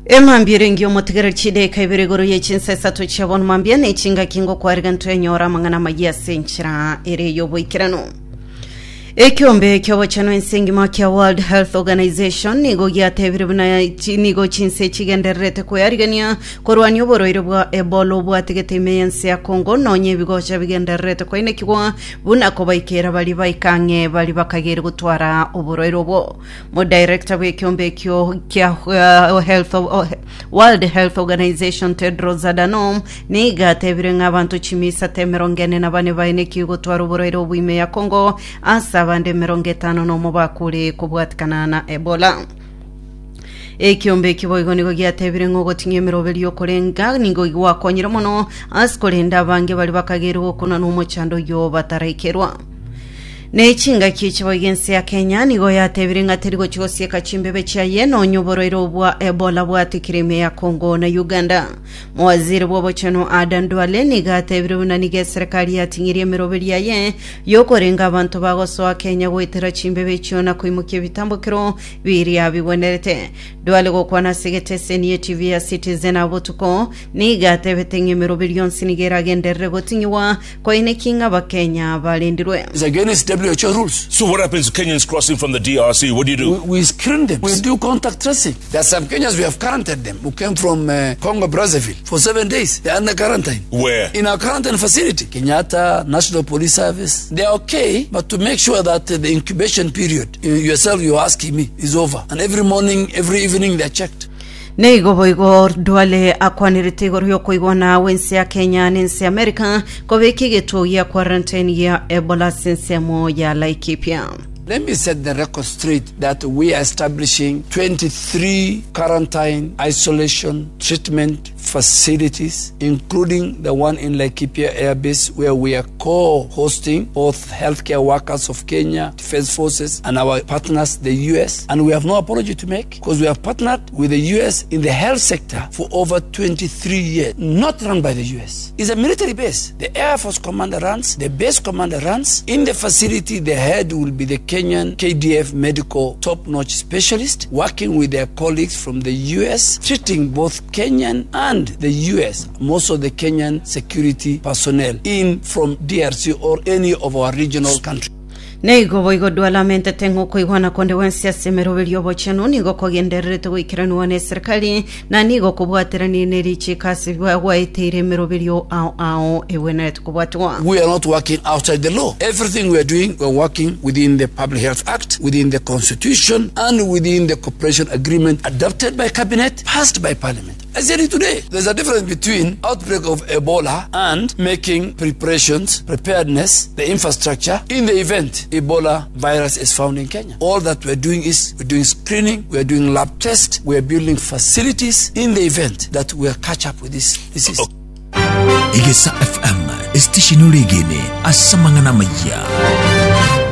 Emambia erenge omotigere chidaeka ibere igoro ye chinsa isato chia bono mambia ne chingaki ngokwariga ntwenyora amang'ana amayia ase enchera ere y'oboikeranu. Ekiombe ki'obochenu ense engima kia World Health Organization nigo giatebire buna chi, nigo chinse chigendererete kwearigania korwania oborwaire bwa Ebola obwatigete ime y'ense ya Congo nonya ebigocha bigendererete koinekigwa buna kobaikera baria baika ang'e baria bakageire gotwara oborwaire obwo. Modirector bw'ekiombe ekio kia Health, World Health Organization Tedros Adhanom nigo atebire ng'a abanto chimisata emerongo ene na bane baenekiwe gotwara oborwaire obwo ime ya Congo ase abande emerongo etano nomo bakure kobwatikana na Ebola. Ekiombe eki boigo nigo giatebire ng'a ogoting'ia emeroberi y'okorenga nigo gwakonyire mono ase korenda abange baria bakageirwe gokuna nomochando oyio bataraikerwa. Ne chingaki echi boigo ense ya Kenya nigo yatebire ng'a teri gochia gosieka chimbebe chiaye nonya oborwaire obwa Ebola bwatekire ime ya Congo na Uganda. Mowaziri bw'obochenu Adan Duale nigo atebire buna nigo eserekari yating'irie emeroberi yaye yokorenga abanto bagosoa Kenya goetera chimbebe echio na koimokia ebitambokero biria bigwenerete. Duale gokwana ase egeteseni ye TV ya Citizen abotuko nigo atebete ng'a emeroberi yonsi nigo eragenderere goting'igwa Koineki ng'a Abakenya barendirwe. It's against WHO rules. So what happens to Kenyans crossing from the DRC? What do you do? We, we screen them. We do contact tracing. There are some Kenyans we have quarantined them who came from uh, Congo Brazzaville for seven days. They are under quarantine. Where? In our quarantine facility. Kenyatta, National Police Service. They are okay, but to make sure that uh, the incubation period, you yourself, you're asking me, is over. And every morning, every evening, they're checked. Nigo boigo Duale akwanerete igoro y'okoigwana gw'ense ya Kenya na ense ya America kobeka egetuo gia quarantine gia Ebola ase ensemo ya Laikipia. Let me set the record straight that we are establishing 23 quarantine isolation treatment facilities including the one in Laikipia Air Base where we are co-hosting both healthcare workers of Kenya Defense Forces and our partners the US and we have no apology to make because we have partnered with the US in the health sector for over 23 years, not run by the US. It's a military base. The Air Force commander runs, the base commander runs. In the facility, the head will be the Kenyan KDF medical top-notch specialist working with their colleagues from the US, treating both Kenyan and the US, most of the Kenyan security personnel in from DRC or any of our regional countries. Nigo boigo Duale amentete ng'a okoigwana konde gwensi ase emeroberi y'obochenu nigo kogendererete goikeranigwa n'eserikali, na nigo kobwateranie ne richiiko ase gwaeteire emeroberio ao ao egwenerete kobwatigwa. We are not working outside the law. Everything we are doing, we are working within the Public Health Act, within the Constitution, and within the Cooperation Agreement adopted by Cabinet, passed by Parliament. I said it today. There's a difference between outbreak of Ebola and making preparations, preparedness, the infrastructure in the event Ebola virus is found in Kenya. All that we're doing is we're doing screening, we're doing lab tests, we're building facilities in the event that we'll catch up with this disease. Egesa FM, esitesheni oregene ase amang'ana amayia.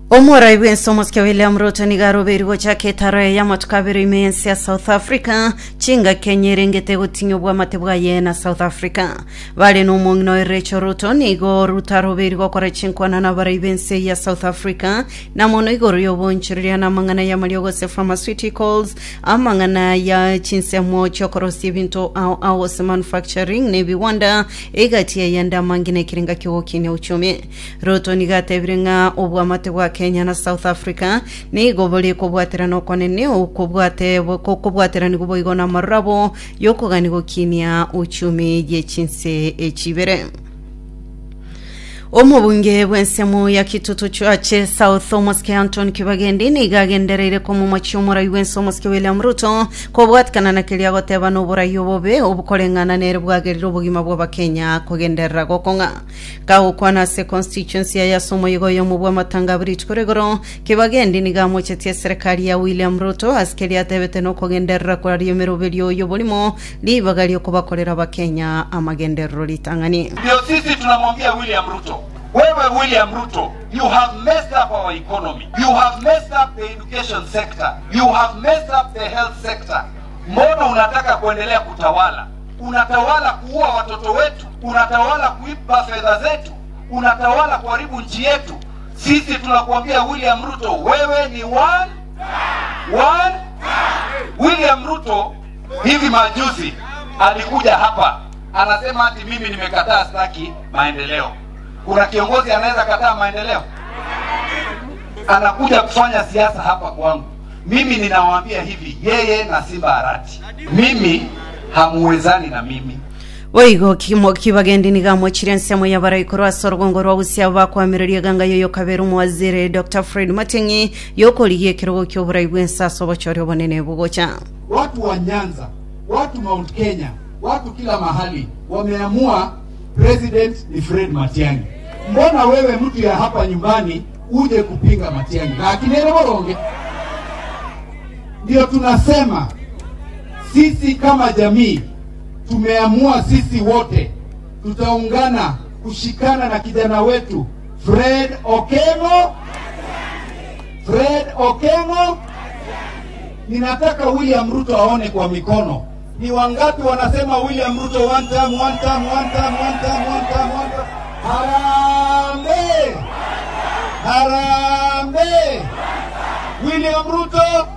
Omorai bw'ense omosike William Ruto nigo arobeirwe gochaka etaro eye y'amatuko abere ime y'ense ya South Africa chingaki enye erengete gotinyia obwamate bwaye na South Africa. Bare nomong'ina oye Rachel Ruto nigo Ruto arobeirwe gokora chinkwana nabarai b'ense ya South Africa na mono igoro y'obonchoreria na amang'ana y'amariogo gose pharmaceuticals, amang'ana ya chinsemo chiokorosia ebinto ao ao gose manufacturing na ebiwanda egati y'ayande amange na ekerenga kiogokinia uchumi. Ruto nigo atebire ng'a oboamate bwa Kenya na South Africa nigo bore kobwaterana okonene okobwate gokobwateranigwa boigo namarorabo yokogania gokinia uchumi ye chinse echi ibere. Omobunge bw'ensemo ya Kitutu Church South Omosike Anton Kibagendi nigo agendereire komomochia omorai bw'ense Omosike William Ruto kobwatikana na keria agoteba noborai obobe obukoreng'ana nere bwagerire obogima bw'Abakenya kogenderera gokong'a. Kagokwana ase constituency yaye ase omoyega oyomo bw'amatanga abwo rituko rigoro, Kibagendi nigo amochetie eserekari ya William Ruto ase keria atebete nokogenderera koraria emeroberio y'oborimo ribaga riokobakorera abakenya amagenderero ritang'ani. Ndio sisi tunamwambia William Ruto, wewe William Ruto, you have messed up our economy, you have messed up the education sector, you have messed up the health sector. Mbona unataka kuendelea kutawala? Unatawala kuua watoto wetu, unatawala kuiba fedha zetu, unatawala kuharibu nchi yetu. Sisi tunakuambia William Ruto, wewe ni one, one. William Ruto. Hivi majuzi alikuja hapa anasema ati mimi nimekataa, sitaki maendeleo. Kuna kiongozi anaweza kataa maendeleo? Anakuja kufanya siasa hapa kwangu. Mimi ninawaambia hivi, yeye na Simba Arati, mimi hamuwezani na mimi. Boigo kimo kibagendi nigo amochire ensemo y'abarai korwa ase orogongo rwa Gusii abwo bakoamereria eganga y'oyo kabere omowaziri Doctor Fred Matiang'i y'okorigia ekerogo ki'oborai bw'ense ase obochori obonene bogocha. Watu wa Nyanza, watu Mount Kenya, watu kila mahali wameamua president ni Fred Matiang'i. Mbona wewe mtu ya hapa nyumbani uje kupinga Matiang'i? Lakini ere boronge. Ndio tunasema sisi kama jamii tumeamua sisi wote tutaungana kushikana na kijana wetu Fred Okengo. Fred Okengo. Ninataka William Ruto aone kwa mikono. Ni wangapi wanasema William Ruto one term, one term, one term, one term, one term, one term. Harambee! Harambee! William Ruto,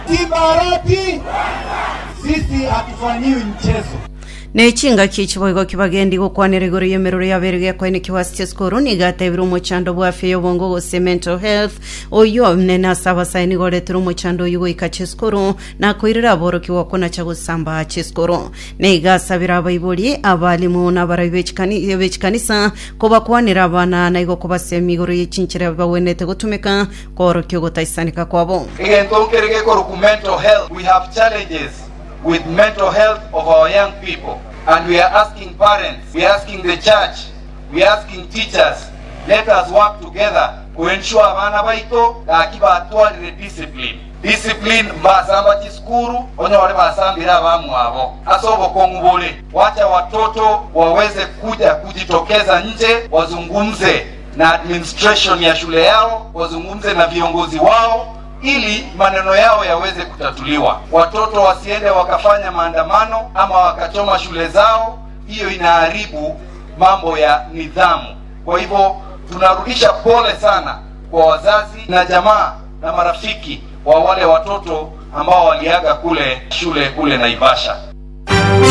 Simba Arati, sisi hatufanyiwi mchezo. Ne chingaki echi boigo kibagendi gokwanera igoro y'emeroro yabeire gekoenekiwa ase chisukuru nigo atebire omochando bw'afya y'obongo gose mental health oyio omonene ase abasae nigo oretire omochando oyio goika chisukuru na koirera aborokigwa konacha gosamba chisukuru. Nigo asabire abaibori, abalimu na abarai b'echikanisa kobakwanera abana na igo kobasemia igoro ye chinchera bagwenerete gotumeka koorokia ogotaisaneka kwabo. Egento nkere gekorokwa mental health, we have challenges with mental health of our young people and we are asking parents, we are asking the church, we are asking teachers, let us work together ku ensure abana baito gaki batwarire discipline. Discipline mbasamba chisukuru onyore basambire abamwabo ase obokong'u bore. Wacha watoto waweze kuja kujitokeza nje wazungumze na administration ya shule yao, wazungumze na viongozi wao ili maneno yao yaweze kutatuliwa. Watoto wasiende wakafanya maandamano ama wakachoma shule zao, hiyo inaharibu mambo ya nidhamu. Kwa hivyo tunarudisha pole sana kwa wazazi na jamaa na marafiki wa wale watoto ambao waliaga kule shule kule Naivasha.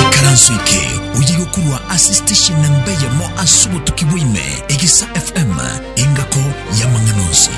Ikaranso eke oye gokorwa ase station namba eyemo ase obotuki bwa ime, Egesa FM, engako y'amang'ana onsi.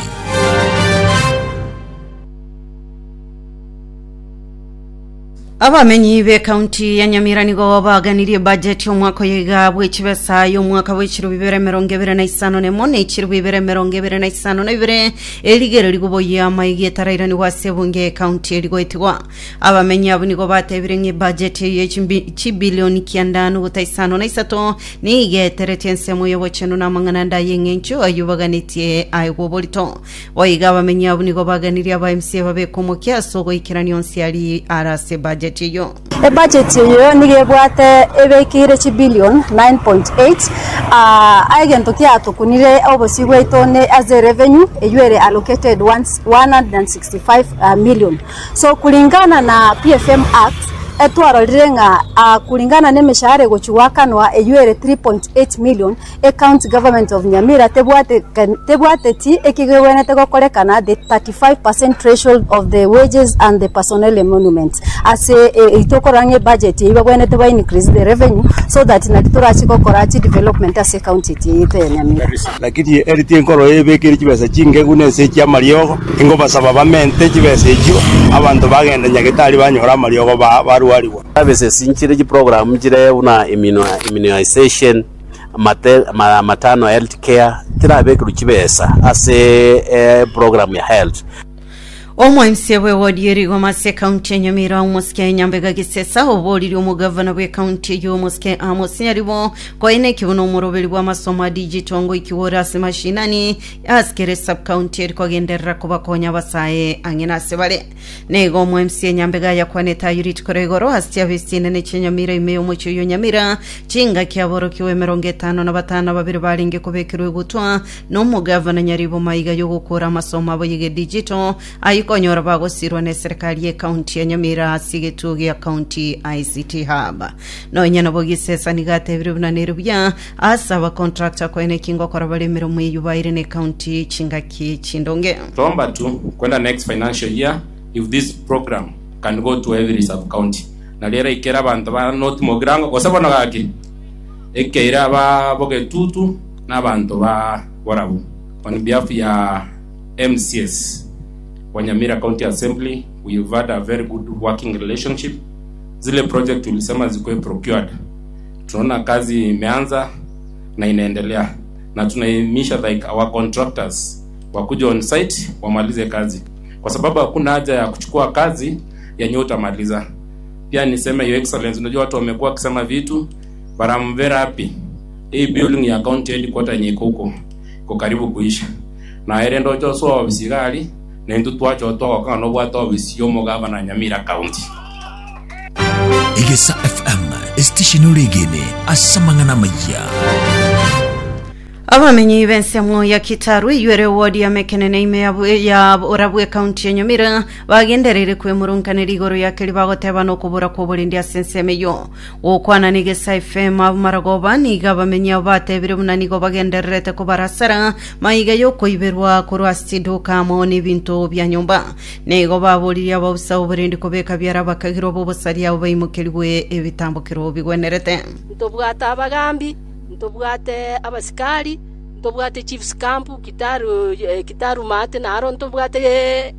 Abamenyi b'ekaunti ya Nyamira nigo baganirie ebudget y'omwaka oyo iga bw'echibesa y'omwaka bw'echiribu bibere emerongo ebere na isano nemo na echiribu ibere emerongo ebere na isano na ibere erigere rigoboyia amaiga etarairanigwa ase ebunge y'ekaunti erigoetigwa. Abamenyi abwo nigo batebire ng'a ebudget eyio ye chibilioni kianda nuguta isano na isato nigo eteretie ensemo y'obochenu na amang'ana ande ay'eng'encho ayio baganetie aegwe oborito. Boigo abamenyi abwo nigo baganirie aba MCA babeke omokia ase ogoikerania onsi aria are ase ebudget eyio. Ebudget eyio nigo ebwate ebekeire chibillion 9.8 aa egento kiatokunire obosio bwaito ne ase revenue eyio ere allocated 165 million. So kulingana na PFM Act etwarorire ng'a kulingana na emeshahara egochia goakanwa eyio ere 3.8 million Ecounty government of Nyamira tebwateti eki gegwenerete gokorekana the 35% threshold of the wages and the personnel emoluments. Ase eyio tokorora ng'a ebudget eyio bagwenerete ba increase the revenue so that nari torachi gokora chi development ase ecounty yaito ya Nyamira. Lakini eri tinkoro ebekeire chibesa chingegu na ense chi'amariogo, ingobasaba bamente chibesa echio, abanto bagende nyagetari banyore amariogo barwarigwa. Services nchire chiprogram nchire buna immunisation, maternal health care chirabekerwe chibesa ase eprogram ya health. Omoimisia bw'ewodi y'erigoma ase ekaunti ya Nyamira omosike Nyambega Gisesa oboririe omogavana bw'ekaunti eyio omosike Amos Nyaribo koena ekibuno omoroberi bw'amasomo a digital ngoikigwa ore ase mashinani ase kera esubcounty eri kogenderera kobakonya abasae ang'e nase bare. Nigo omo MCA Nyambega ayakwanete ayio rituko ria igoro ase chiabisi chinene chia Nyamira ime y'omochie oyio Nyamira, chingaki aborokigwa 52 babere barenge kobekerwa egutwa nomogavana Nyaribo maiga y'ogokora amasomo abo y'egedigital ayio konyora bagosirwa neserikari y'ecounty ya Nyamira ase egetuo gia County ICT Hub. Nonya nabo Gisesa nigo atebire buna nere buya ase abacontractor koena eki ngokora bare emeremo eyio baire necounty chingaki chindonge. Twomba tu kwenda next financial year if this program can go to every sub county. Nario eraikere abanto ba North Mugirango, gose bono gaki, ekeire aba bogetutu na abanto ba borabu. On behalf ya MCAs wa Nyamira County Assembly, we have had a very good working relationship. Zile project ulisema zikuwe procured, tunaona kazi imeanza na inaendelea, na tunaimisha like our contractors wakuja on site wamalize kazi, kwa sababu hakuna haja ya kuchukua kazi yenye utamaliza. Pia niseme Your Excellency, unajua watu wamekuwa wakisema vitu, but I'm very happy. Hii building ya county headquarter yenye iko huko iko karibu kuisha na ere ndoche osoa ofisi gari na intwe twacha twagoka ng'a nobwate ofisi ya omogavana Nyamira County. Egesa FM, esitesheni oregene ase amang'ana amayia. Abamenyi b'ensemo ya Kitaru eywo ere ward ya Mekenene ime ya, ya Orabwe county ya Nyamira bagendereire kwemurunkanera igoro ya keri bagoteba nokobora kw'oborendi ase ensemo eywo. Gokwana n'Egesa FM abamaragoba nigo abamenyi abo batebire buna nigo bagendererete kobarasara maiga y'okoiberwa korwa ase chiduka amo n'ebinto bia nyomba. Nigo baboririe ababusa b'oborendi kobeka biara abakagirwa b'obosaria abo baimokerigwe ebitambokero bigwenerete. Ntobwate abagambi, Ntobwate abasikari, ntobwate chiefs camp Kitaru, Kitaru maate naro ntobwate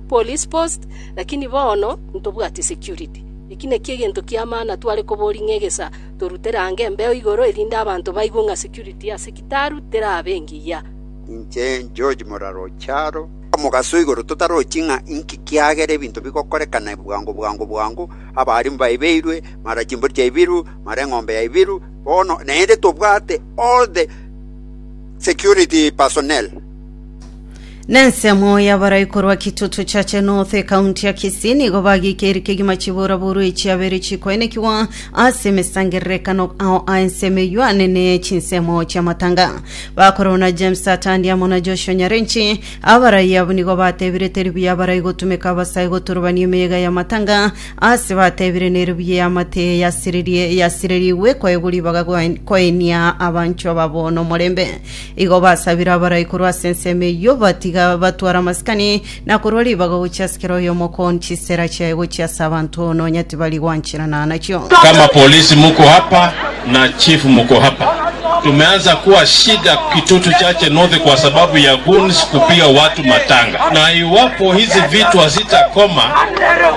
police post, lakini bono ntobwati security. Eki nakio egento kia maana tware koboria ng'a egesa torutere ange embeo igoro erinde abanto baigwe ng'a security ase Kitaru terabe engiya. Inche George Morara Ocharo, omogaso igoro totarochi ng'a inki kiagera ebinto bigokorekana bwango bwango bwango, abarimu baibeirwe, mara chimbori chiaibirwe, mara eng'ombe yaibirwe, Bono naende tobwate all the security personnel. Nensemo y'abarai korwa Kitutu Chache North ekaunti ya Kisii nigo bagikeiri kegima chiburaburu echiabere chikoenekigwa ase emesangererekano ao a ensemo eyio anene chinsemo chi'amatanga. Bakorwa na James Atandi amo na Joshua Nyarenchi, abarai abwo nigo batebire teri buya abarai gotumeka abasae goturubania emeyega y'amatanga Ase batebire nerubi y'amate yasiririe yasirerigwe koegwa ribaga koenia abanchwa babo nomorembe. Igo basabire abarai korwa ase ensemo eyio batiga batware amasikani, na korwa ribaga gochia ase kera oyomo kon chisera chiaye gochia ase abanto nonya tibari gwancherana nachio. Kama polisi muko hapa na chief muko hapa, tumeanza kuwa shida Kitutu Chache North kwa sababu ya goons kupiga watu matanga, na iwapo hizi vitu hazitakoma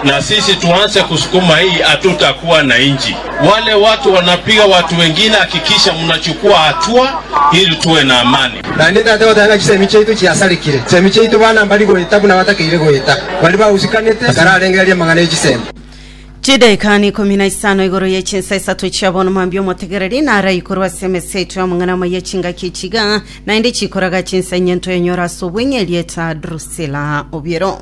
na sisi tuanze kusukuma hii, hatutakuwa na nchi. Wale watu wanapiga watu wengine, hakikisha mnachukua hatua ili tuwe na amani. Naende tata goteba ng'a chisemi chiaito chiasarekire, chisemi chiaito bana mbari goeta buna batakeire goeta, baria bahusikanete batararengereria amang'ana e chisemi. Chidaika ni ikomi na isano igoro ye chinsa isato chia bono mambia omotegereri narai korwa ase emesa yaito y'amang'ana amaya chingaki echiga naende chikoraga chinsa inye ntoyenyora ase obweng'e erieta Drusilla Obiero.